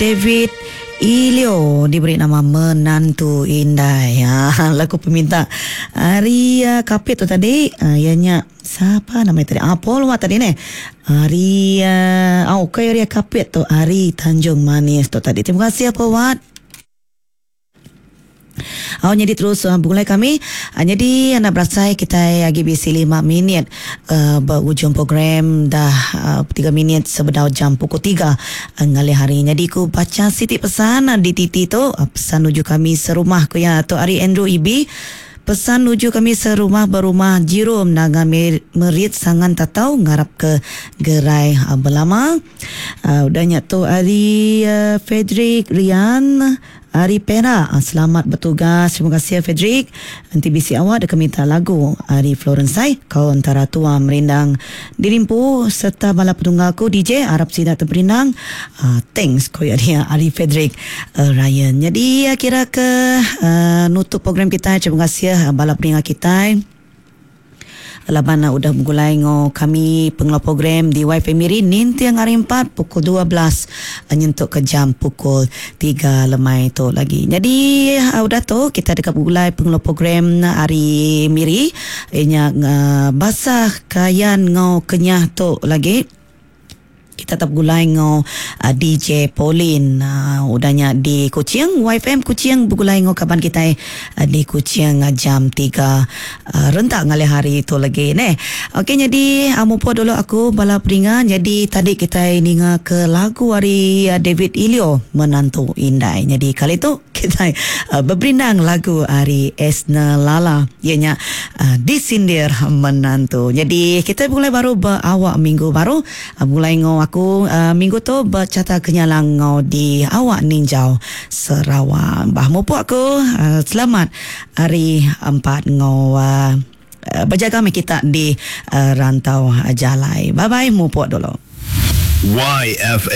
David Ilio diberi nama Menantu Indai. Ha, lagu peminta ari uh, Kapit tu tadi uh, iya nya siapa nama tadi? Ah, Paul Wat tadi neh. Ari uh, oh, okay, ari Kapit tu ari Tanjung Manis tu tadi. Terima kasih Paul Wat. Au nyadi terus uh, begulai kami. Uh, nyadi anak berasai kita agi bisi 5 minit uh, ba ujung program dah uh, 3 minit sebedau jam pukul 3 uh, ngalih hari. Nyadi ku baca siti pesan uh, di TT tu uh, pesan nuju kami serumah ku ya tu ari Andrew EB. Pesan nuju kami serumah berumah Jirum Naga Merit Sangan Tatau ngarap ke gerai uh, belama. Uh, udah nya tu ari uh, Frederick Rian Ari Perak, selamat bertugas. Terima kasih Frederick. Enti bisi awak deka minta lagu ari Florence Sai, kau entara tua merindang dirimpu serta bala petunggal aku DJ arap sida teperindang. Uh, thanks ko ya dia ari Frederick uh, Ryan. Jadi kira ke uh, nutup program kita. Terima kasih bala peninga kita. Laban udah begulai enggau kami pengeluar program di YFM Miri ninting hari empat pukul 12 nyentuk ke jam pukul 3 lemai tu lagi. Jadi udah tu kita deka begulai pengeluar program ari Miri inya Basah Kayan enggau Kenyah tu lagi. Kita tetap begulai enggau uh, DJ Pauline. Uh, udah nya di Kuching, YFM Kuching begulai enggau kaban kita uh, di Kuching uh, jam 3 uh, rentak ngalih hari tu lagi neh. Okey jadi uh, mupo dulu aku bala peninga. Jadi tadi kita ninga ke lagu ari uh, David Ilio Menantu Indai. Jadi kali tu kita uh, beberindang lagu ari Esna Lala ianya uh, Disindir Menantu. Jadi kita begulai baru berawak minggu baru. Begulai ngau aku uh, minggu tu bercata kenyalang ngau di awak ninjau Sarawak. Bah mupuk aku uh, selamat hari empat ngau uh, berjaga me kita di uh, rantau jalai. Bye bye mupuk dulu. YFM.